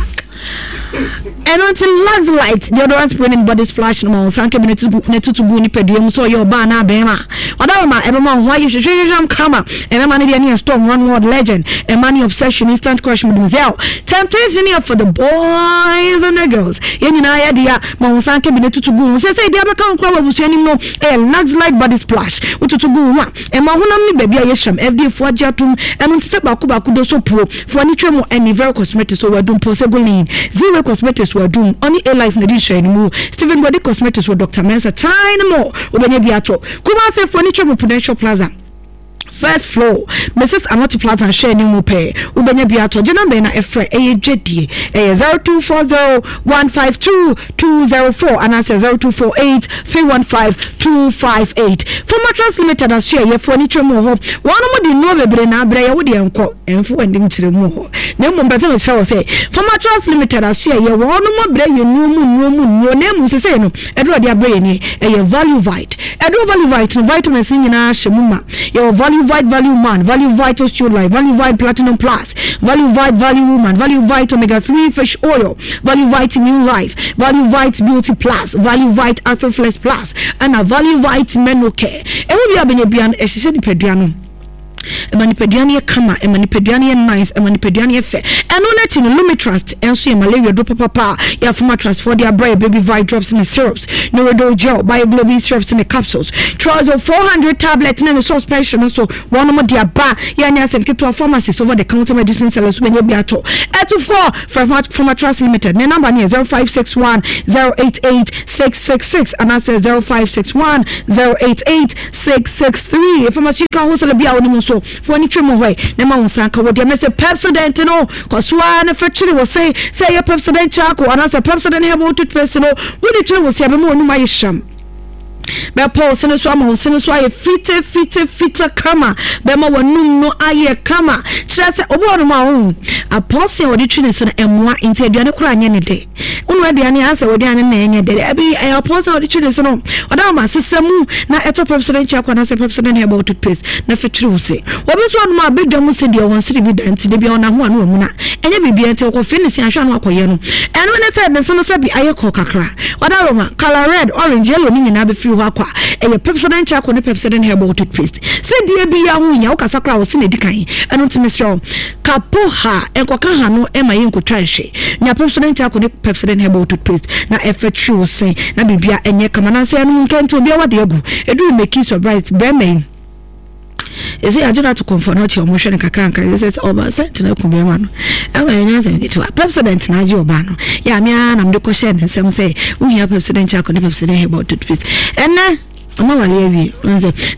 Ɛno nti Luxlite deodorant spray ne body splash no ma wo nsa nka bi na tutu gu nipadua mu sɛ ɔyɛ ɔbaa anaa bɛrima. Ɔda ma ɛbɛma wo ho ayɛ hwehwehwehwam kama. Ɛmɛma no deɛ ne yɛ storm run world legend. Ɛma ne obsession instant crush mademoiselle. Temptation yɛ for the boys and the girls. Yɛn nyinaa yɛ dea ma wo nsa nka bi na tutu gu ho. Sɛ sɛ ebi abɛka wo koraa wɔ abusua anim no ɛyɛ Luxlite body splash. Wotutu gu ho a ɛma honam ne baabi a yɛ hyɛm. F D A foɔ agye atom. Ɛno nti sɛ baako baako do so puo. Foɔ ani twɛ mu ɛne Vero Cosmetics wɔ Adum Pɔsɛgolin. Zero Cosmetics wɔ Adum. Ɔne A Life na di nhyɛn no mu. Stephen Body Cosmetics wɔ Doctor Mensa China Mall. Wobɛnya bi atɔ. Kumasi foɔ ani twɛ mu Prudential Plaza. First floor, Missus Anoti Plaza hwɛ anim mu pɛ. Wobɛnya bi atɔ. Gye number na ɛfrɛ ɛyɛ dwadie. Ɛyɛ zero two four zero one five two two zero four anaasɛ zero two four eight three one five two five eight. Formatrans Limited aso ɛyɛ foɔ ani twɛ mu wɔ hɔ. Wɔn mo de nnuro bebree na abrɛ yɛ wo deɛ nkɔ. Ɛmfo wɔn anim kyerɛ mu wɔ hɔ. Na mmom pɛ sɛ mekyerɛ wɔ sɛ Formatrans Limited aso ɛyɛ wɔn mo abrɛ yɛ nnuro mu nnuro mu nnuro na mmom sesei no ɛduro de abrɛ yɛ nie ɛyɛ Value Vite. Ɛduro Value Vite no vitamins nyinaa hyɛ mu ma. Yɛwɔ Value Vite Value Man, Value Vite Osteo Life, Value Vite Platinum Plus, Value Vite Value Woman, Value Vite Omega three Fish Oil, Value Vite Immune Life, Value Vite Beauty Plus, Value Vite Arthroflex Plus, ɛna Value Vite Menocare. Ɛmu bi a bɛnya bia no ɛhyehyɛ nipadua no, ɛma nipadua no yɛ kama, ɛma nipadua no yɛ nice, ɛma nipadua no yɛ fɛ. Ɛno n'akyi no, Lumitrust ɛnso yɛ malaria duro papapa a yɛafoma trust for de abrɛ yɛ Baby Vite drops ne syrups, Neurodol gel, Bioglobin syrups ne capsules, Trozo four hundred tablet ne ne suspension no so wɔnom de aba. Yɛnyɛ asɛm ketewa, pharmacies, over the counter medicine sellers wobɛnya bi atɔ. Ɛtofoɔ frɛ Pharmatrust Limited, ne number no yɛ zero five six one zero eight eight six six six anaasɛ zero five six one zero eight eight six six three. Pharmaceutical wholesaler bi a wɔnim nso fo ani twɛ mu hɔ yi na ma wo nsa nka wɔ deɛ mɛsɛ Pepsodent no kɔ so ara na fa kyere wɔ se sɛ ɛyɛ Pepsodent charcoal anaasɛ Pepsodent herbal toothpaste no, wode kyere wɔ se a bɛma w'anum ayɛ hyam, bɛpɔ wo sene so ama wo sene so ayɛ fite fite fite kama, bɛma w'anum no ayɛ kama. Kyerɛ sɛ obi wɔ nom a ɔhu apɔse a wɔde twi ne se no ɛmmoa, nti aduane koraa nyɛ ne de. Wonu aduane a asɛ wɔaduane no na ɛnyɛ de ɛbi ɛyɛ apɔse a wɔde twi ne se no. Ɔda wɔn asesa mu na ɛtɔ Pepsodent charcoal anaasɛ Pepsodent herbal toothpaste na fitiri wo se. Wɔbi nso ɔnom a bɛdwa mu se deɛ wɔn sere bi da, nti de bi ɔna ho ano ɔmu na ɛnyɛ biribi, nti ɔkɔfe ne se ahwɛ ano akɔyɛ no. Ɛno ne sɛ ne se no sɛ bi ayɛ kɔ kakra. Ɔda roma colour red, orange, yellow ne nyinaa bɛfiri hɔ akɔ a ɛyɛ Pepsodent charcoal ne Pepsodent herbal toothpaste. Sɛ deɛ bi yɛ ho hia wokasa koraa wɔ se na ɛdi kan. Ɛno nti mesrɛ wo, kapo ha nkɔka ha no ɛma yɛ nkotwa nhwe. Nya Pepsodent charcoal ne Pepsodent herbal toothpaste na ɛfɛ twi wo se na biribia ɛnyɛ kama. Nansɛ ɛno nkɛ nti obiara wade agu ɛduru meki surprise bɛrima yi ɛsɛ yɛagye no ato kɔmfɔ no ɔkye ɔmo hwɛ no kakra nka ɛsɛ sɛ ɔba sɛ tena ku bɛrima no ɛma yɛnyɛ asɛm ketewa. Pepsodent na agye ɔbaa no yɛ a mea na mede kɔhyɛɛ ne nsɛm sɛ wohia Pepsodent charcoal ne Pepsodent herbal toothpaste. Ɛnɛ ɔma wale awie.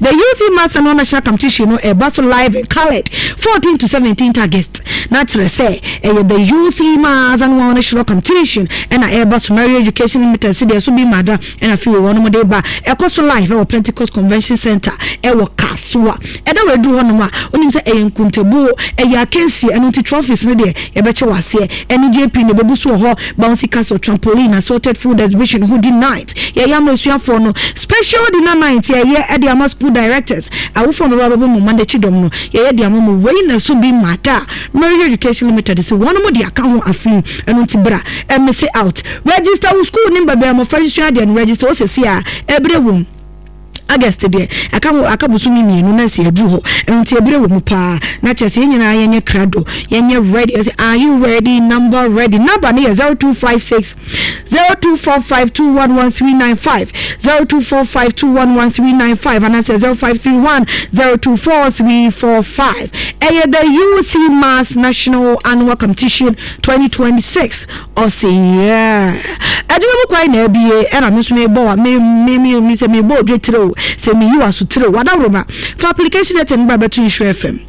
The U C Maths and National Competition no ɛba so live and coloured fourteen to seventeen August, na kyerɛ sɛ ɛyɛ the U C Maths and National Competition ɛna ɛba so. Mary Education Limited si deɛ so bi mada ɛna afei wɔ wɔn de ba. Ɛkɔ so live ɛwɔ Pentecost Convention Center ɛwɔ Kasoa. Ɛda wɔ aduru hɔnom a onim sɛ ɛyɛ nkuntabuo, ɛyɛ akansie. Ɛno nti trophies no deɛ yɛbɛkyɛ wɔ aseɛ ɛne J P na ɛbɛbu so wɔ hɔ, bouncy castle, trampoline, assorted food exhibition, hoodie night yɛyɛ ama asuafoɔ no, special dinner night yɛyɛ ɛde ama school directors, awofoɔ a bɛba bɛbɔ mo mma n'akyi dɔm no yɛyɛ de ama mo. Wei na so bi mata Mary Education Limited sɛ wɔn mo de aka ho afei. Ɛno nti bra ɛmese out, register wo school ne mbɛbɛn mmɔfra nsua adeɛ no, register wo sɛsi a ɛbrɛ wɔ August deɛ aka aka bosome mmienu na sɛ yɛduru hɔ. Ɛno nti ebire wɔ mu paa na kyerɛ sɛ yɛn nyinaa yɛnyɛ krado, yɛnyɛ ready. Ɛsɛ are you ready? Number ready, number no yɛ zero two five six zero two four five two one one three nine five, zero two four five two one one three nine five anaasɛ zero five three one zero two four three four five. Ɛyɛ the U C Mass National Annual Competition twenty twenty-six. Ɔsɛ yeah, adwuma mu kwan na abie ɛna me nso mebɔ wa me me me me sɛ mebɔ odwe tire o, sɛ meyi wa so tire o. Wadaworo fa application letter no ba bɛto Nhyira F M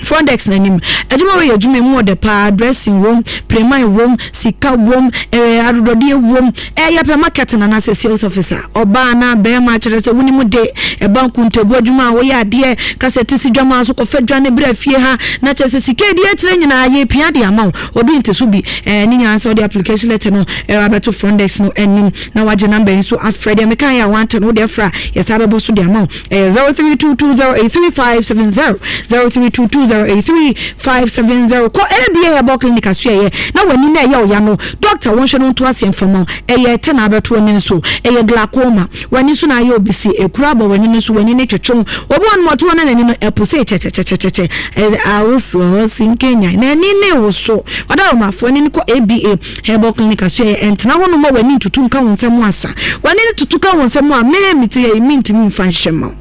front desk n'anim. Adwuma wɔ yɛ adwuma mu ɔdɛ paa, dressing wom, preman wom, sika wom, ɛɛ adodɔdeɛ wom. Ɛyɛ pɛ marketing anaasɛ sales officer, ɔbaa na bɛrima, kyerɛ sɛ wonim de ɛba nkuntabu adwuma a woyɛ adeɛ kasa ti si dwama so kɔfɛ dwa ne brɛ fie ha na kyerɛ sɛ sika edi akyerɛ nyinaa yɛ pia de ama wo. Obi nte so bi ɛɛ ne nyinaa sɛ ɔde application letter no ɛwɔ abɛto front desk no anim na wagye number yi nso afrɛ. Deɛ meka yɛ a wante no, wode afrɛ a yɛsa bɛbɔ so de ama wo. Ɛyɛ zero three two two zero eight three five seven zero, zero three two two zero eight three five seven zero. Kɔ A B A Herbal Clinic aso ɛyɛ na w'ani na ɛyɛ ɔya no, doctor wɔnhwɛ no nto aseɛ mfama wo. Ɛyɛ ɛtɛ na abɛto ani nso, ɛyɛ glaucoma, w'ani so na ayɛ obisi, ekura abɔ w'ani no so, w'ani ne twetwe obi wɔn mo ɔto wɔn n'ani no ɛpo sɛ kyɛkyɛkyɛkyɛkyɛ ɛyɛ awoso ɔsi nkenya n'ani ne woso. Ɔda wɔn afɔ ani no kɔ A B A Herbal Clinic aso ɛyɛ. Ɛntena hɔ nom a w'ani ntutu nka wɔn nsɛm asa, w'ani no tutu ka wɔn nsɛm a mɛɛ mi ti yɛ mi ntumi nfa nhyɛ ma wo.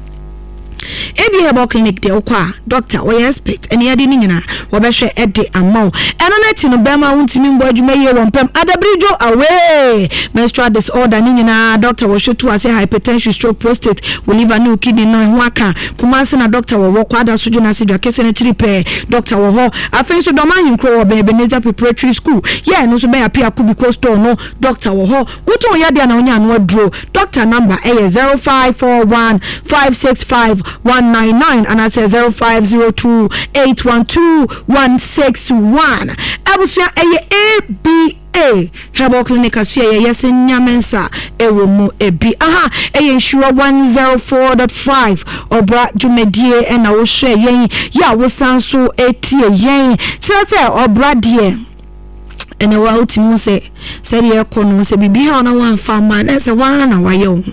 A B A Herbal Clinic deɛ, wokɔ a doctor wɔyɛ expert ɛne yɛde ne nyinaa wɔbɛhwɛ ɛde ama wo. Ɛno n'akyi no, bɛrima wontumi mbɔ adwuma yie wɔ mpam, adabiridwo away, menstrual disorder ne nyinaa doctor wɔhwɛ tu ase, hypertension, stroke, prostate, wo liver ne wo kidney no ɛho aka. Kumase na doctor wɔwɔ Kwada so dwo n'ase dwa kɛse n'akyiri pɛɛ, doctor wɔ hɔ. Afei nso Dɔm Ahenkuro wɔ bɛn Ebenezer Preparatory School yɛ ɛno nso bɛn Apia Kubiko store no, doctor wɔ hɔ. Wotɔn yadeɛ na wonya ano aduro. Doctor number ɛyɛ zero five four one five six five one nine nine anaasɛ zero five zero two eight one two one six one. Abusua, ɛyɛ A B A Herbal Clinic aso yɛ yɛsɛ nyame nsa ɛwɔ mu ebi. Aha ɛyɛ Nhyira one zero four dot five ɔbra dwumadie ɛna wohwɛ yɛn yɛ a wosan so etie yɛn kyerɛ sɛ ɔbra deɛ ɛna wa wotumi hu sɛ sɛdeɛ ɛkɔ no sɛ biribi ha na wamfa ama na sɛ waa na wayɛ wo ho.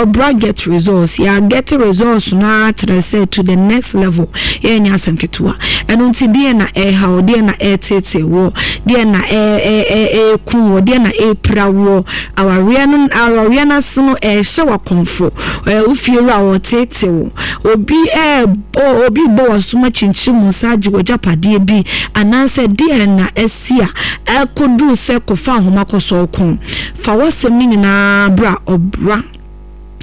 Ɔbra get results, yɛ get results no ara kyerɛ sɛ to the next level. Yɛnyɛ asɛm ketewa. Ɛno nti deɛ na ɛha wo, deɛ na ɛtete wɔ, deɛ na ɛɛku wɔ, deɛ na ɛpira wɔ awareɛ no, awareɛ no ase no ɛhyɛ wakɔnfo, ɛɛ wofie wura wɔtete wo, obi ɛɛbɔ obi bɔ wasoma kyinkyim mu nsa agye wɔ gyapadeɛ bi anaasɛ deɛ na ɛsi a ɛkɔduru sɛ kɔfa ahoma kɔsɔ kɔn fa wɔsɛm no nyinaa bra ɔbra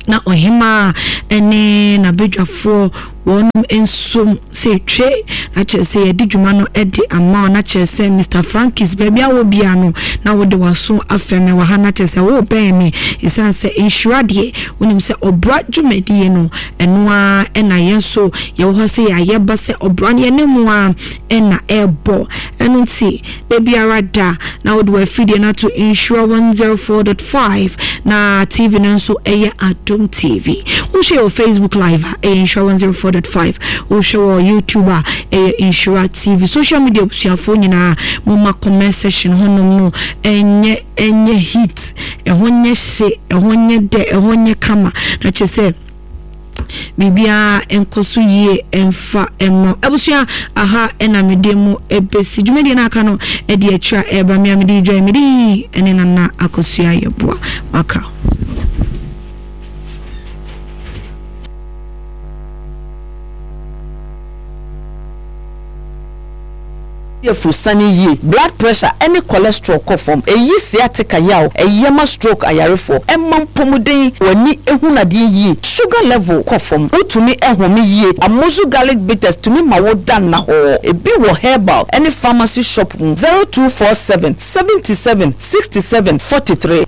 na ɔhema ɛne n'abadwafoɔ wɔnom nso sɛ twe na kyerɛ sɛ yɛde dwuma no de ama wo na kyerɛ sɛ Mister Frankis baabi a wɔ bia no na wode w'aso afɛ me wɔ ha na kyerɛ sɛ wobɛn me ɛsiane sɛ nhyira deɛ wonim sɛ ɔbra dwumadie no ɛno a ɛna yɛn nso yɛwɔ hɔ sɛ yɛayɛ ba sɛ ɔbra no yɛne mu a ɛna ɛbɔ. Ɛno nti da biara da na wode w'afidie no ato Nhyira one zero four dot five na T V no nso ɛyɛ Adom T V. Wohwɛ wɔ Facebook Live a ɛyɛ Nhyira one zero four dot five. Wohwɛ wɔ YouTube a ɛyɛ Nhyira T V. Social media abusuafoɔ nyinaa momma comment section hɔnom no ɛnyɛ ɛnyɛ heat, ɛhɔ nyɛ hye, ɛhɔ nyɛ dɛ, ɛhɔ nyɛ kama na kyerɛ sɛ biribiara nkɔ so yie ɛmfa ɛmma abusua. Aha ɛna mede mu ebesi dwumadie no aka no ɛde akyire a ɛreba me a mede dwa mede ɛne Nana Akosua Yɛboa maka. Yɛfurusane yie, blood pressure ɛne cholesterol kɔ fam, ɛyi sciatica yaw, ɛyɛ ma stroke ayarefoɔ, ɛma mpɔmuden, w'ani ehu nadeɛ yie, sugar level kɔ fam, wotumi ɛhome yie. Amozu garlic bitters tumi ma wo da nna hɔ. Ebi wɔ herbal ɛne pharmacy shop mu. Zero two four seven seventy seven sixty seven forty three.